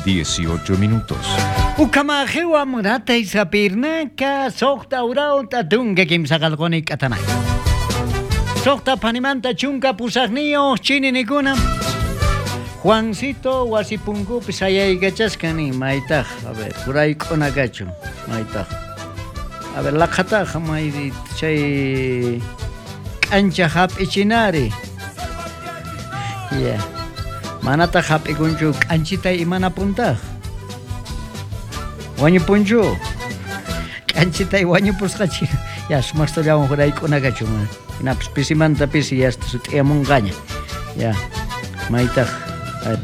18 minutos. Ukamajewa murata isapirnaka soqta urawta tunka kimsaqalquni k'atanay. Soqta panimanta chunka pusaqniyuq chininikuna. Juancito wasipunkupi sayaykachaskan nin maytaq, a ver, hurayk'una kachun, maytaq. A ver, laqhataq may chay k'ancha hap'ichinari. Ya. Manataq hap'ikunchu k'anchita imanapuntaq. Wañupunchu. K'anchitay wañupusqachi. Ya, sumaqtallawan hurayk'una kachun. Hinapis pisimanta pisi yasta sut'iyamunqaña. Ya. Maytaq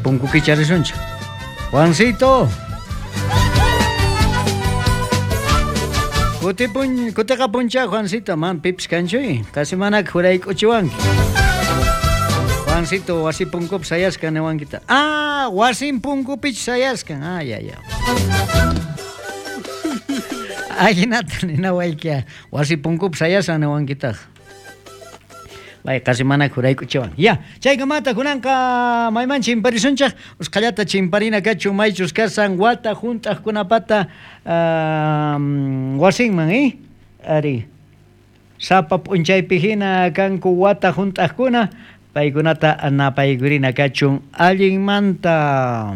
punku kicharisunchik. Juancito. Kutipun kutiqapuncha Juancito, man pipis kanchuy. Qasi manak hurayk'uchiwanki. Juancito wasi punkupi sayaskan niwankita. Ah, wasin punkupich sayaskan. Ah, ya, ya. Ajinata ninawaykia. Wasi punkupi sayasan niwankitaq. Bay qasi mana hurayk'uchiwan. Ya, chaykamata kunanqa mayman chimparisunchik, usqhallata chimparina kachun maychus kasan wata hunt'aqkunapata wasinman, eh? Ari. Sapa p'unchaypi hina kanku wata hunt'aqkuna, paykunata napaykurina kachun allinmanta.